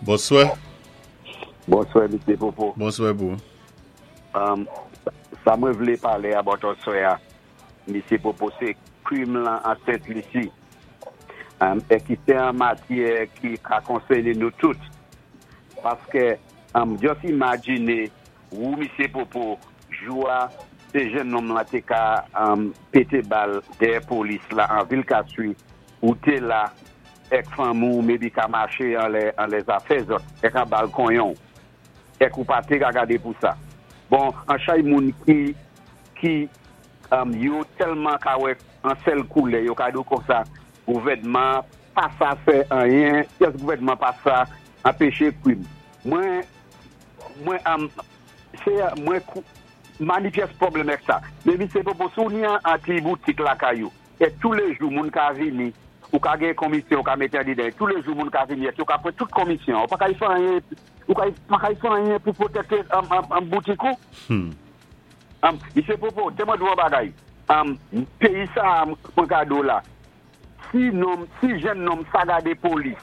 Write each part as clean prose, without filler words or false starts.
Bonswè. Bonswè Misye Popo. Bonswè pou ou. Sa mwen vlé palé about aswè a Misye Popo sé krim lan an Sent Lisi é ki sé an matyè ki ka konsèné nou tout paskè just imajiné wou Misye Popo jou a sé jennonm lan té ka pété bal dèyè polis la an vil Castries ou té la èk fanmi w maybe ka maché anlè anlè zafè zòt èk an bal konyon w èk ou pa té ka gadé pou sa bon an chay moun ki ki yo tèlman ka wè an sèl koulè yo ka di w konsa gouvènman pa sa fè anyen pyès gouvènman pa sa anpeche krim mwen mwen se mwen kou mani pyès pwoblèm èk sa men misye popo si w ni an ti boutik lakay ou E toulejou moun ka vini, ou ka gen konmisyon ou ka mete andedan e toulejou moun ka vini èk yo ka pran tout konmisyon an. Ou pa ka y fè anyen, ou ka pa ka y fè anyen pou pwotèkte boutik ou. Misye Popo, te mwen di w yon bagay, peyi sa a mwen ka di w la, si nonm, si jenn nonm sa gade polis,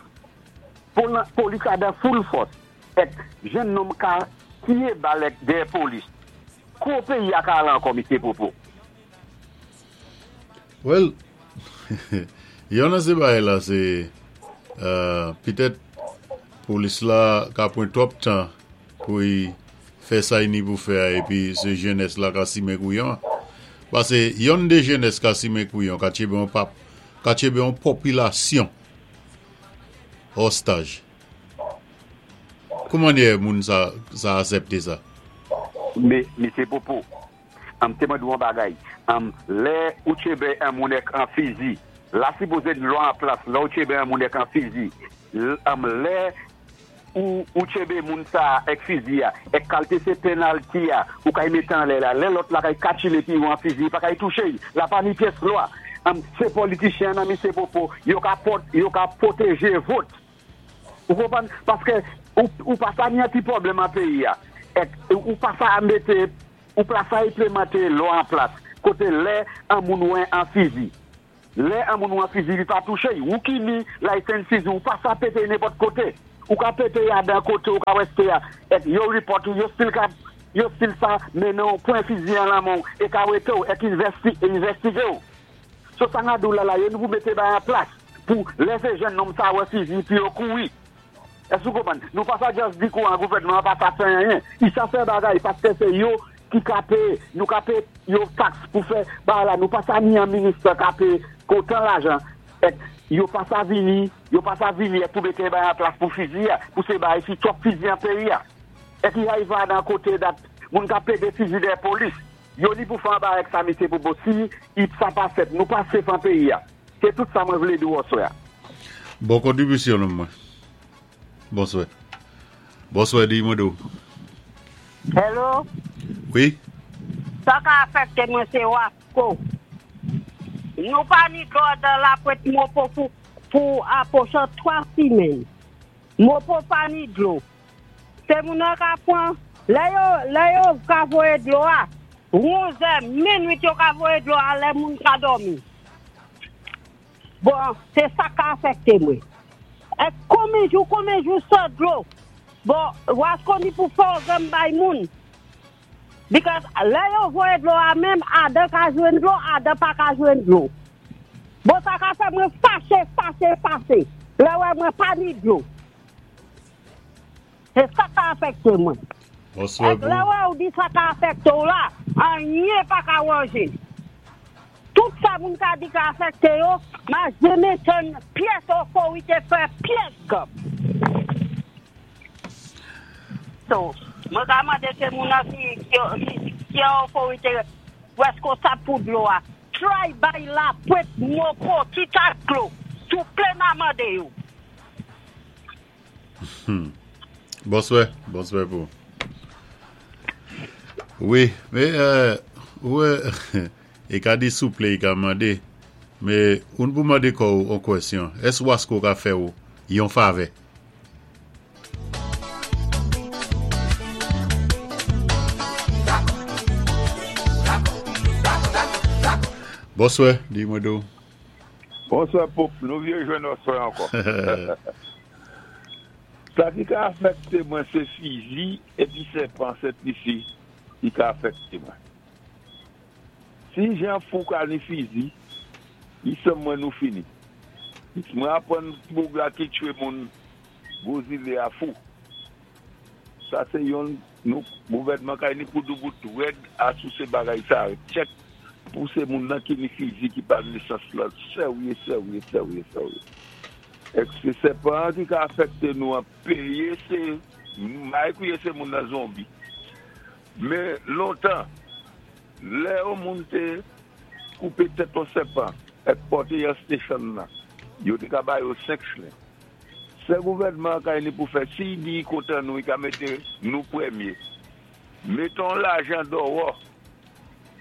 polis la dan full fòs, èk jenn nonm ka tiye bal èk dèyè polis, kou peyi a ka ale ankò misye Popo? Well, yon nan se bagay la se petèt polis la ka pran twòp tan pou y fè sa y ni pou fè a epi se jenès la ka simen kouyon an. Pase yonn de jenès ka simen kouyon ka tchebe yon pap, ka tchebe yon popilasyon ostaj. Kouman yè moun sa sa asèpte sa? Me, Mesye Popo, Anm te mande w yon bagay anm lè ou tchebe 1 moun ek 1 fizi la sipoze yn lwa an plas lè ou tchebe 1 moun ek 1 fizi anm lè ou ou tchebe moun sa ek fizi a ek kalte se penalty a ou kay mete anlè la lè lòt la kay katchil epi ou an fizi li pa kay touche y la pa ni pyès lwa anm se politichyen an nan misye popo yo ka pot yo ka pwoteje vot ou konprann paske ou ou pa sa ni an ti pwoblèm an peyi a ek ou pa sa mete Ou pa sa enplemante lwa an plas kote lè an moun wè an fizi lè an moun wè an fizi li pa touche y ou ki ni license fizi ou pa sa pete y nenpòt kote ou ka pete y adan kote ou ka wè ste a et yo report ou yo still ka yo still sa mennen w pwen fizi an lan men w e ka wete w et investi investige w so sa nga di w la la yo ni pou mete bagay an plas pou lè se jèn nonm sa wè fizi pou yo kouri. Èske ou konprann? Nou pa sa just di kouran gouvènman an pa sa fè anyen. I sa fè bagay paske se yo ki ka peye. Nou ka peye yo tax pou fè bagay la. Nou pa sa ni an ministè ka peye otan lajan. Èk yo pa sa vini, yo pa sa vini èk pou mete bagay an plas pou fizi a, pou se bagay si twòp fizi an peyi a. Èk i arive a nan kote dat moun ka pede fizi dèyè polis. Yo ni pou fè an bagay ak sa mesye pou bon si i sa pa fèt nou pa safe an peyi a. Se tout sa mwen vle di w aswè a. Bon kontribisyon nonm mwen. Bonswè. Bonswè di mwen do. Hello. Wi. Sa ka afekte mwen se wasko. Nou pa ni dlo dan la pwent mopo pou pou apochan 3 simenn. Mopo pa ni dlo. Se moun nan ka pwan lè yo lè yo ka voye dlo a 11 è minwit yo ka voye dlo a lè moun ka dòmi. Bon se sa ka afekte mwen. E konbyen jou konbyen jou 100 dlo. Bon wasko ni pou fè organ bay moun. Because lè yo voye dlo a menm Adan ka jwenn dlo Adan pa ka jwenn dlo. Bon sa ka fè mwen fache fache fache. Lè wè mwen pa ni dlo. Se sa ka afekte mwen. Bonswa Ek lè wè ou di sa ka afekte w la, anyen pa ka wanje. Tout sa moun ka di ka afekte yo, ma jeme tann pyès otorite fè pyès gòb. So, mwen ka mande se moun nan ki ki an otorite reskonsab pou dlo a. Try bay la pwent moko ti tas dlo souple ma mande yo. Bonswè, bonswè pou. Wi, men ou wè, e ka di souple, e ka mande, men oun pou mande kò ou on kwèsyon, ès wasko ka fè ou yon favè? Bonswè, di mwen do. Bonswè Pope, nou vye jwenn oswè ankò. Sa ki ka afèkté mwen sé fizi épi sèpan Sent Lisi ki ka afèkté mwen. Si jan fou ka ni fizi, i sanm mwen nou fini. Mwen apwann boug la ki tchwé moun gwo zilé a fou. Sa sé yonn nou gouvèdman kay ni pou doubout rèd asou sé bagay sa tchèk pou sé moun nan ki ni fizi ki pa nesans lan sèwye sèwye sèwye sèwye. Èk sé sèpan an ki ka afèkté nou an péyé sé may kouye sé moun nan zonbi. Men lontan lè yon moun té koupé tèt yon sèpan èk pòté an stechonn nan yo té ka ba yo 5 chlen. Sè gouvèdman an kay ni pou fè si y di y kontan nou y ka mété nou prèmyé. Mété yon lajan dòwò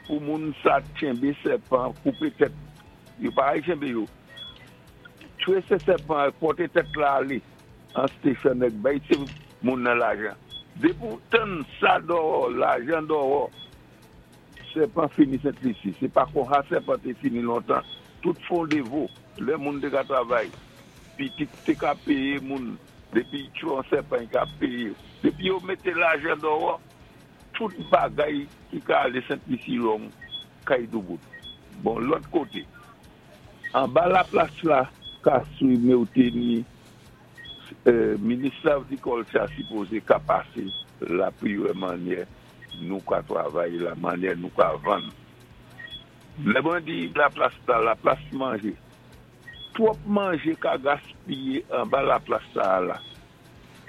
pou moun sa tchenbé sèpan koupé tèt yo pa al tchenbé yo tchwé se sèpan an pòté tèt la alé an stechon nèg bay se moun nan lajan. Dépi w tann sa dòwò lajan dòwò sèpan fini Sent Lisi. Se pa konha sèpan té fini lontan. Tout fondevo lè moun té ka travay pitit té ka péyé moun dépi y tchwé yon sèpan y ka péyé. Dépi yo mété lajan dòwò tout bagay ki ka alé Sent Lisi wrong kay doubout. Bon lòt koté anba laplas la ka swi mew té ni minis lavrikòlti a sipozé ka pasé la pou y wè mannyè nou ka travay la mannyè nou ka vann. Lè mwen di laplas la, laplas manje. Twòp manje ka gaspiye anba laplas sa a la.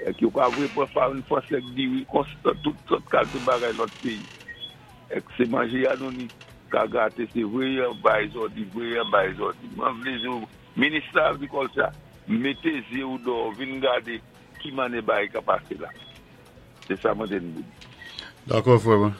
Èk yo ka vwe pran farin franse èk diri konstan tout sòt kalte bagay lòt peyi. Èk se manje a nou ni ka gate se vwe yan bay zòdi vwe yan bay zòdi. Mwen vle zo minis la agrikòlti a mete zye ou dò vin gade ki manne bagay ka pase la. Se sa mwen te n pou di. Dakò frè mwen.